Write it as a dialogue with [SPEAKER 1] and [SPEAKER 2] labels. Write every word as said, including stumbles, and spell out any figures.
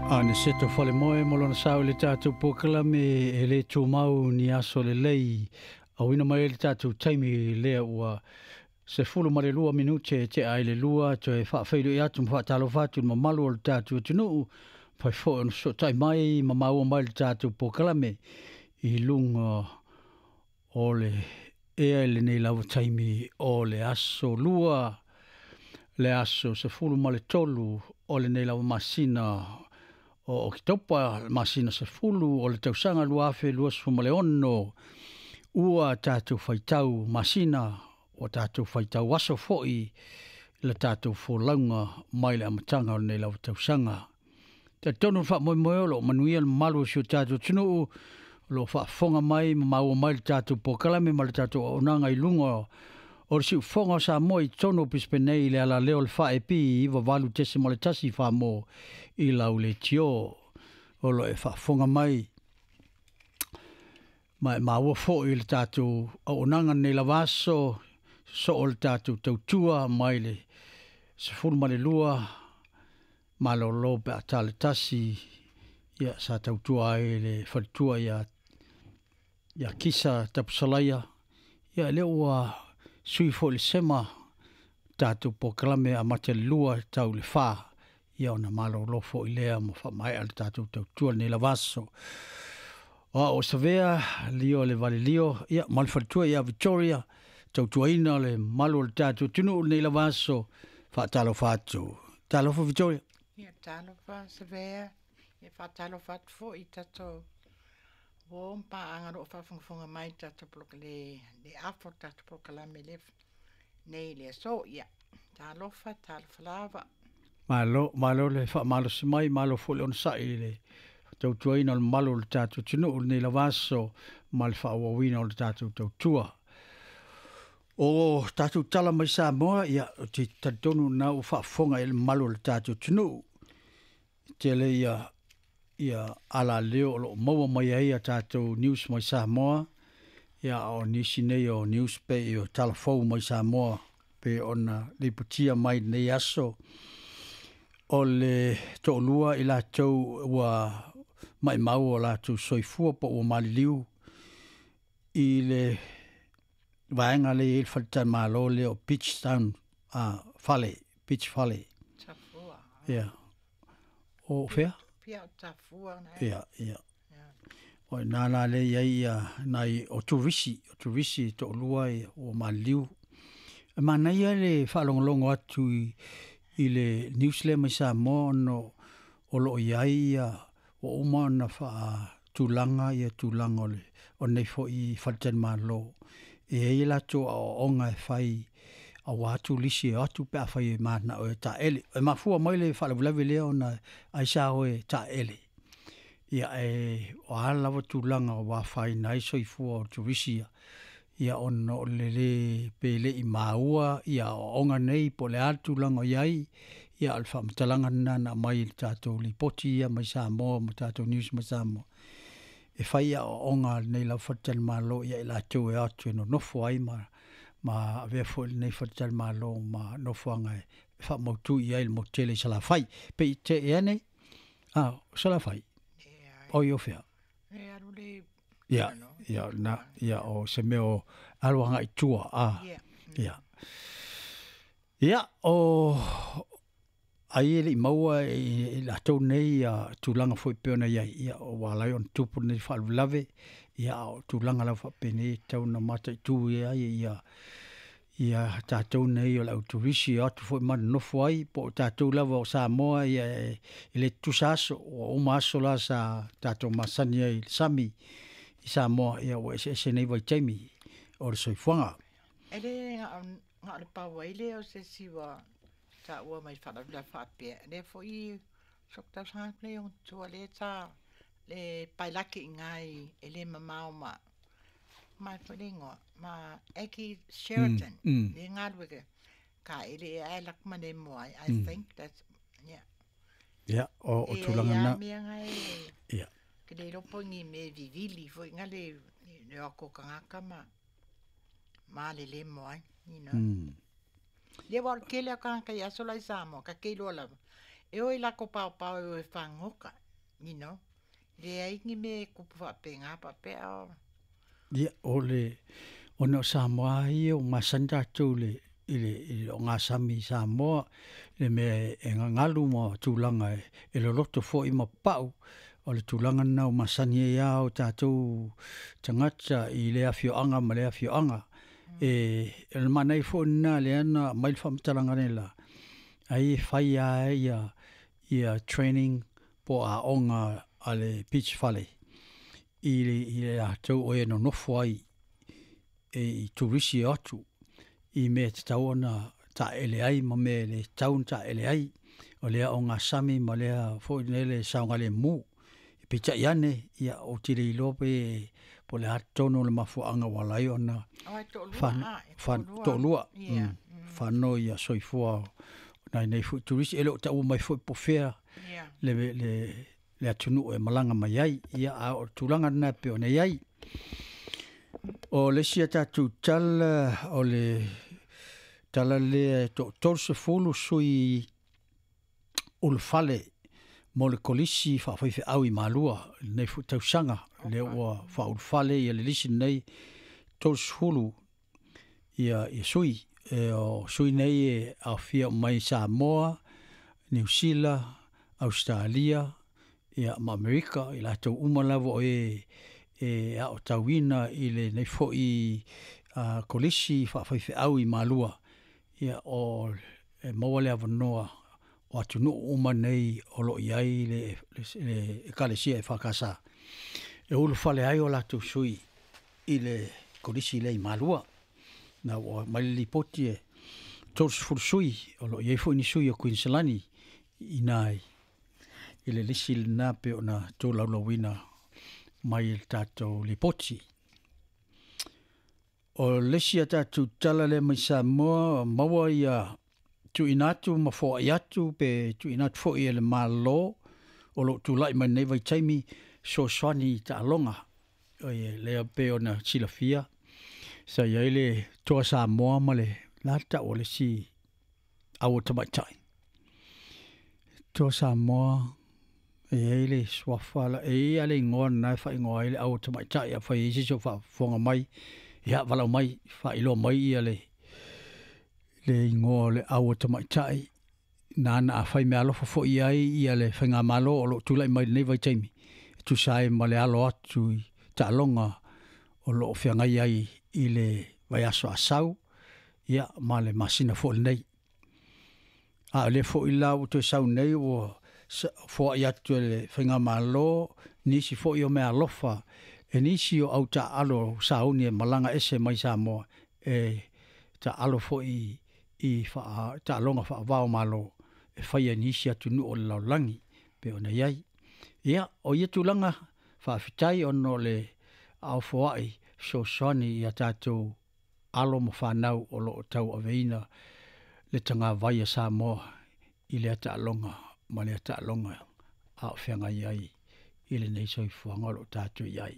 [SPEAKER 1] Aniseto Falemoe mo lona sao i le tatou polokalame e le tumau ni aso lelei. Auina mai le tatou taimi lea ua sefulu ma le lua minute e tea ai le lua toe faafeiloai atu ma faatalofa atu i le mamalu o le tatou atunuu. Fai foi ona fesootai mai ma maua mai le tatou polokalame i luga o le ea i lenei lava taimi o le aso lua, le aso sefulu ma le tolu o lenei lava masina o Oketopa, le masina sefulu o le tausaga lua afe luasefulu ma le ono, ua tatou faitau masina, ua tatou faitau aso foi le tatou folauga mai le amataga o lenei lava tausaga. Talitonu le faamoemoe o lo o manuia le mamalu o si o tatou atunuu, o lo o faafofoga mai ma maua mai le tatou polokalame ma le tatou auaunaga i luga o le siufofoga o Samoa i totonu o Brisbane nei i le alaleo o le F A P iva valu tesima le tasi Samoa i lau leitio o lo o e faafofoga mai ma e maua foi le tatou auaunaga nei lava aso soo le tatou tautua mai le sefulu ma le lua malolo pe a tale tasi ia sa tautua ai le faletua ia ia Kisa Tapusalaia ia lea ua sui foi le sema tatou polokalame amata le lua tau le fa ia ona malolo foi lea ma faamaea le tatou tautua lenei lava aso. O au o Savea, lio le valilio, ia ma le faletua ia Victoria, tautuaina le mamalu o le tatou atunuu lenei lava aso, faatalofa atu. Talofa Victoria.
[SPEAKER 2] Ia talofa Savea, ia faatalofa atu foi i tatou uo ma paaga o lo o faafogafoga mai tatou le, le afo tatou polokalame le nei le aso. Ia talofa, talofa lava.
[SPEAKER 1] Malo, malo le faamalosi mai, malo foi le onosai i le tautuaina o le mamalu o le tatou atunuu lenei lava aso ma le faaauauina o le tatou tautua. O tatou tala mai Samoa, ia, ou te talitonu na ua faafofoga i le mamalu o le tatou atunuu. Tele ia, ia alaleo o lo o maua mai ai a tatou news mai Samoa, ia o nisi nei o news pe i o talafou mai Samoa pe ona lipotia mai nei aso. O le to'alua i latou ua maimau o latou soifua po ua maliliu i le vaega lea e i ai le faletalimalo lea o Beach Town uh, Fale, Beach Fale.
[SPEAKER 2] Tafua.
[SPEAKER 1] Ia. O fea?
[SPEAKER 2] Pia o Tafua na.
[SPEAKER 1] Ia, ia. O ina la le i ai ia nai o turisi, o turisi to'alua ia ua maliliu. E manaia le faalogologo atu i, i le news lea mai Samoa ona o lo o i ai ia ua uma ona faatulaga ia tulaga o le o nei foi faletalimalo. E i ai latou aoaoga e fai auā turisi e o atu pe afai e mananao e taele. E mafua mai le faalavelave lea ona ai sa o e taele. Ia e o a lava tulaga ua afaina ai soifua o turisi ia, ia ona o le lē pe le i maua ia aoaoga nei po o le a le tulaga o i ai, ia o le faamatalaga lena na aumai i le tatou lipoti ia mai Samoa ma tatou news mai Samoa. E fai aoaoga a lenei lava faletalimalo ia i latou e o atu e nonofo ai ma ma avea foi lenei faletalimalo ma nofoaga e faamautu i ai le motu tele i Salafai. Pe i te ea nei? Ah, o Salafai. O i o fea?
[SPEAKER 2] E alu le
[SPEAKER 1] Ia, ia, na, ia, o se mea o alu agai tua, ah.
[SPEAKER 2] Ia.
[SPEAKER 1] Ia. Ia, o ai e le i maua i, i latou nei ia tulaga foi pei ona i ai, ia ua ala ai ona tupu lenei faalavelave, ia o tulaga lava faapenei e tatau ona mataitu ai ia ia tatou nei o le au turisi e o atu foi ma nonofo ai po o tatou lava o Samoa ia e, e le tutusa aso, ua uma aso la sa tatou masani ai i le sami i Samoa, ia ua eseese nei vaitaimi o le soifuaga.
[SPEAKER 2] E le nga o le pau ai lea o se isi ua taua mai faalavelave faapea. Lea foi sok tausaga atu nei ona tua lea sa le pailaki i ina i e le mamao ma mai foi le igoa ma Aggie Sheraton
[SPEAKER 1] Mm, mm.
[SPEAKER 2] le galue ka ele e ai lak ma le mo ai. I
[SPEAKER 1] Mm.
[SPEAKER 2] think that's yeah.
[SPEAKER 1] Ia, o, o
[SPEAKER 2] E
[SPEAKER 1] tulaga
[SPEAKER 2] ai
[SPEAKER 1] na.
[SPEAKER 2] a mea ngai e
[SPEAKER 1] Ia.
[SPEAKER 2] ke le lopo ngi me vivili foi nga le le o kangaka ma ma le le mo ai, you know.
[SPEAKER 1] Mm.
[SPEAKER 2] Le wa ke le ka ka ya sola i Samoa ka ke lo lava. E o i lako pao pao e o e whangoka, you know. Le ai ni me kupu whapenga papea o.
[SPEAKER 1] Ia, o le, ona o Samoa ia o masani tatou le i le i le ogasami i Samoa, le mea e gagalu ma tulaga e, e loloto fo'i ma pa'u, o le tulaga lena o masani ai a o tatou tagata i le afioaga ma le afioaga. E, o le manaia foi lena lea na aumai le faamatalaga nei la, ai e fai lava ia, ia training po o aoga a le beach fale i le, i le latou o e nonofo ai e i turisi e o atu i mea e tatau ona taeele ai ma mea e le tatau ona taeele ai, o lea ogasami ma lea foi lele saogalemu. Peitai ane, ia, ou te le iloa pe po o le a tonu o le mafuaaga ua ala ai ona
[SPEAKER 2] Ai to'alua
[SPEAKER 1] fan,
[SPEAKER 2] a, e
[SPEAKER 1] fan,
[SPEAKER 2] to'alua.
[SPEAKER 1] to'alua,
[SPEAKER 2] Ia.
[SPEAKER 1] mm, fano ia soifua o nai nei foi turisi, e le o taua mai foi po o fea
[SPEAKER 2] Ia.
[SPEAKER 1] le, le, le atunuu e malaga mai ai. Ia, a o le tulaga lena e pei ona i ai. O le isi a tatou tala, o le tala lea e toatolu sefulu sui ulufale mo le kolisi faafaifeau i Malua i lenei foi tausaga, lea
[SPEAKER 2] Oka.
[SPEAKER 1] ua faaulufale ia le lisi lenei tolusefulu ia, ia sui. E, o sui nei e aofia mai Samoa, Niu Sila, Ausetalia, ia ma Amerika, i latou uma lava o e e aotauina i lenei foi uh, kolisi faafaifeau i Malua. Ia o e maua le avanoa o atunuu uma nei o loo i ai le, le, le ekalesia e F K S e ulufale ai o latou sui i le kolisi lea i Malua. Na ua mai le lipoti e tolusefulu sui, o loo i ai foi ni sui o Kuiniselani i ina i le lisi lena pe ona tolaulauina mai i le tatou lipoti. O le isi a tatou tala lea mai Samoa, maua ia tuuina atu ma foai atu pe tuuina atu foi e le Malo o loo tulai mai nei vaitaimi fesoasoani i taaloga. Oi lea pe ona silafia sa i ai le Toa Samoa ma le la tau o le isi aua tamaitai. Toa Samoa e i ai le suafa la, e i ai le igoa lena e faaigoa ai le aua tamaitai, afai e i ai se isi o faafofoga mai, ia valaau mai, faailoa mai ia le le igoa o le aua tamaitai nana afai meaalofa foi ai ia le faigamalo o loo tulai mai lenei vaitaimi e tusa ai ma le alo atu i taaloga o loo feagai ai i le vaiaso asau ia ma le masina foi lenei. A o lea foi la ua toe sau nei ua foai atu e le faigamalo nisi foi o meaalofa e nisi o au taaalo sauni e malaga ese mai Samoa e taaalo foi i faa, taaloga faavao malo e faia i nisi atunuu o le lalolagi pe ona i ai. Ia, o ia tulaga faafetai ona o le aofoai fesoasoani ia tatou alo ma fanau o loo tauaveina le tagavai a Samoa i lea taaloga ma lea taaloga a o feagai ai i lenei soifuaga o loo tatou i ai.